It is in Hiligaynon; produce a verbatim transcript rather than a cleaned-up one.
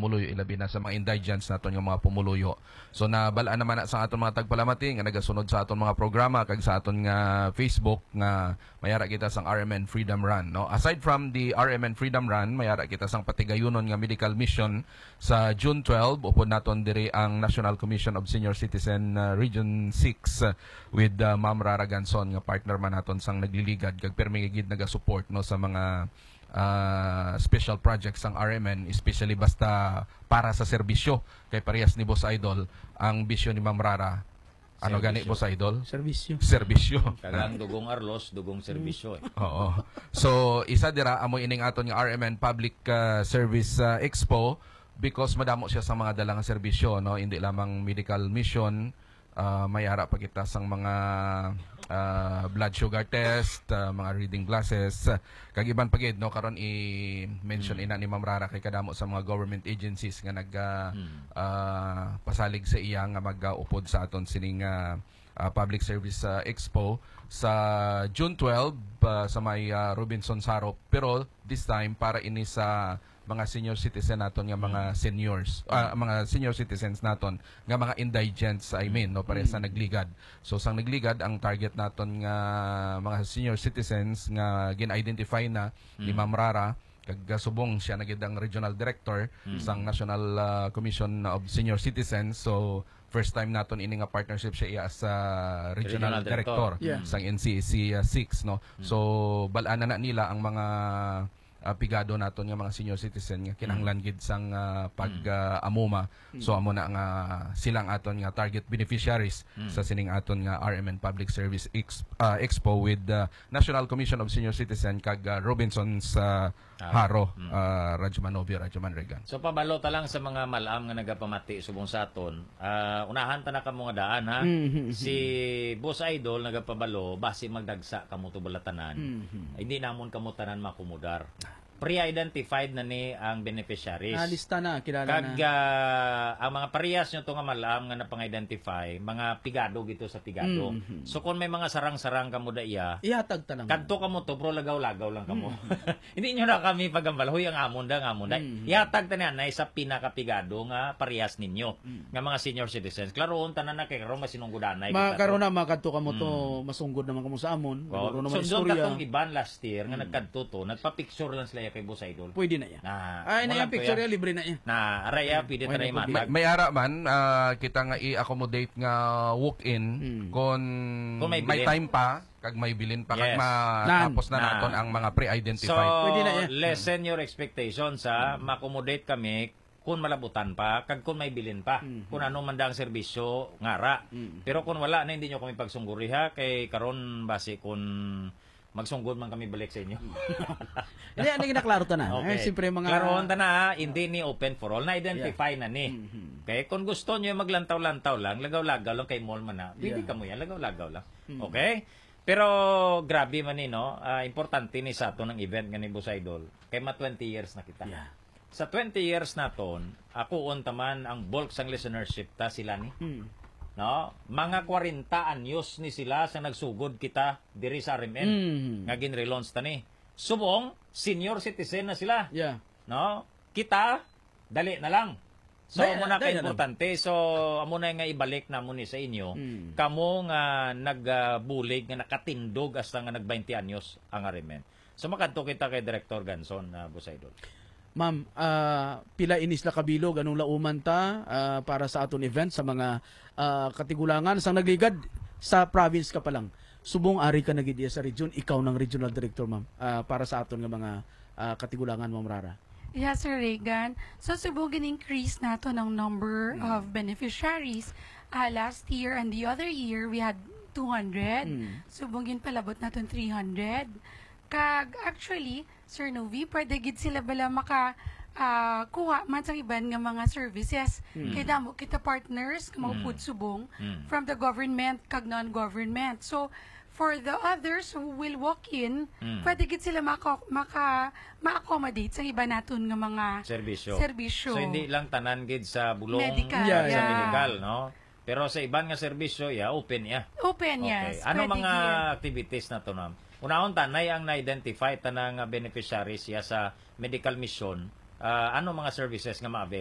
pumuluyo, ilabi na sa mga indigents naton nga mga pumuluyo. So, nabal-an naman na sa aton mga tagpalamati nga nagasunod sa aton mga programa kag sa aton nga Facebook nga may ara kita sang R M N Freedom Run, no? Aside from the R M N Freedom Run, may ara kita sang patigayunon nga medical mission sa June twelve. Upod naton diri ang National Commission of Senior Citizen, uh, Region six, uh, with, uh, Ma'am Rara Ganson nga partner man naton sang nagliligad kag permi gid nagasupport, no, sa mga, uh, special projects sang R M N, especially basta para sa serbisyo. Kay parehas ni Boss Idol, ang bisyo ni Ma'am Rara, ano gani, Serbisyo. Boss Idol? Serbisyo. Serbisyo. Kalang dugong arlos, dugong serbisyo eh. Oo. So, isa dira amo ining aton nga R M N Public, uh, Service, uh, Expo because madamo siya sa mga dala nga serbisyo, no? Hindi lamang medical mission, uh, may ara pa kita sang mga, uh, blood sugar test, uh, mga reading glasses, uh, kag iban pa gid, no? Karon i-mention Mm. ina ni Ma'am Rara kay kadamo sa mga government agencies nga nag, uh, Mm. uh, pasalig sa iya nga mag-upod sa aton sining, uh, uh, Public Service, uh, Expo sa June twelve, uh, sa may, uh, Robinson Saro. Pero this time, para ini sa mga senior citizen naton nga mga Mm. seniors, ah, Mm. mga senior citizens naton nga mga indigents, I mean, no, pareha sa Mm. nagligad. So, sang nagligad, ang target naton nga mga senior citizens nga gin-identify na ni Mm. Ma'am Rara, kag, ah, subong siya na gid ang regional director Mm. sang National, ah, Commission of Senior Citizens. So, first time naton ini nga partnership siya iya as, ah, regional Regional director. director Yeah. sang N C A C, ah, six, no? Mm. So, bal-an na nila ang mga, ah, pigado naton nga mga senior citizen nga kinahanglan Mm. gid sang, ah, pag, Mm. ah, amuma. So, Mm. amo na nga sila ang aton nga target beneficiaries Mm. sa sining aton nga R M N Public Service Ex-, ah, Expo with, ah, National Commission of Senior Citizen kag, ah, Robinsons, ah, Ah. Haro, Mm. ah, Radyo Man Novi, Radyo Man Regan. So, pabalo ta lang sa mga mal-am nga nagapamati subong sa aton. Ah, unahan ta na kamo nga daan, ha? Mhm. Si Boss Idol nagapabalo, basi magdagsa kamo to bulatanan. Mhm. Hindi namon kamo tanan makumudar. Pre-identified na ni ang beneficiaries. Nalista na, kilala Kag, na. ah, ang mga parehas nyo to nga mal-am nga napang-identify, mga pigado gito sa pigado. Mhm. So, kung may mga sarang-sarang kamo da iya, Ihatag ta lang. kadto kamo to, pero lagaw-lagaw lang kamo. Mhm. Hindi nyo na kami pagambal, "Hoy, ang amon da, ang amon da." Mhm. Ihatag ta niya na sa pinakapigado nga parehas ninyo, Mm. nga mga senior citizens. Klaroon tanan na kay karon masinunggudanay Ma-, kita to. karon na, makadto kamo to, Mm. masunggod naman kamo sa amon. Oo. Nagkaroon naman Sundon istorya. katong iban last year nga Mm. nagkadto to, nagpa-picture lang sila kay Boss Idol. Pwede na yan. Na, Ay, na wala yan, ko picture yan. yan, libre na yan. Na, aray, ah, Mm. pwede Wala tayo na matag. problema. May, may ara man, ah, kita nga i-accommodate nga walk-in Mm. kung Kung may may bilin. time pa, kag may bilin pa, kag Yes. matapos Nan. na Nan. naton ang mga pre-identified. So, Pwede na yan. lessen your expectations, ha? Mm. Ma-accommodate kami kung malabutan pa, kag kung may bilin pa. Mhm. Kung ano man da ang serbisyo, ngara. Mm. Pero kung wala na, hindi nyo kami pagsungguri, ha? Kay karon, basi kung magsunggod man kami balik sa inyo. Hindi, ano yung naklaro ta na? Eh, Okay. siyempre, mga Klarohon ta na, ha? Hindi ni open for all. Na-identify Yeah. na ni. Mhm. Okay? Kung gusto nyo maglantaw-lantaw lang, lagaw-lagaw lang kay mall man na, pwede Yeah. kamo yan, lagaw-lagaw lang. Mm. Okay? Pero grabe man ni, no? Ah, importante ni sa aton ang event nga ni Boss Idol. Kay ma twenty years na kita. Yeah. Sa twenty years naton, akuon ta man ang bulk sang listenership ta sila ni. Mm. No? Mga kwarenta anyos ni sila sa nagsugod kita diri sa R M N Mm. nga ginrelaunch ta ni. Subong, senior citizen na sila. Yeah. No? Kita, dali na lang. So, Dali, amo na dali na lang. ka-importante. So, amo na nga ibalik namon ni sa inyo. Mm. Kamo nga nagbulig, nga nakatindog hasta nga nag twenty anyos ang R M N. So, makadto kita kay Director Ganson, ah, Boss Idol. Ma'am, ah, pila inis la kabilog, anong lauman ta, ah, para sa aton event sa mga, ah, katigulangan sang nagligad sa province ka pa lang? Subong ari ka na gid iya sa region, ikaw nang regional director, ma'am, ah, para sa aton nga mga, ah, katigulangan, Ma'am Rara. Yes, Sir Regan. So, subong gin-increase nato ng number Mm. of beneficiaries. Ah, last year and the other year, we had two hundred. Mm. Subong ginpalabot naton three hundred. Kag, actually, Sir Novi, pwede gid sila bala maka, ah, kuha man sa iban nga mga services. Mm. Kay damo kita partners nga mga Mm. food subong Mm. from the government kag non-government. So, for the others who will walk in, Mm. pwede gid sila maka, maka, ma-accommodate sa iba naton nga mga Serbisyo. serbisyo. So, hindi lang tanan gid sa bulong, Medical, Yeah, sa yeah. medical, no? Pero sa iban nga serbisyo, yeah, open, yeah. Open, Okay. yes. Ano Pwede mga gid. activities naton, ma'am? Unahon ta, nay ang na-identify ta na nga beneficiaries siya sa medical mission. Ah, ano mga services nga ma-avail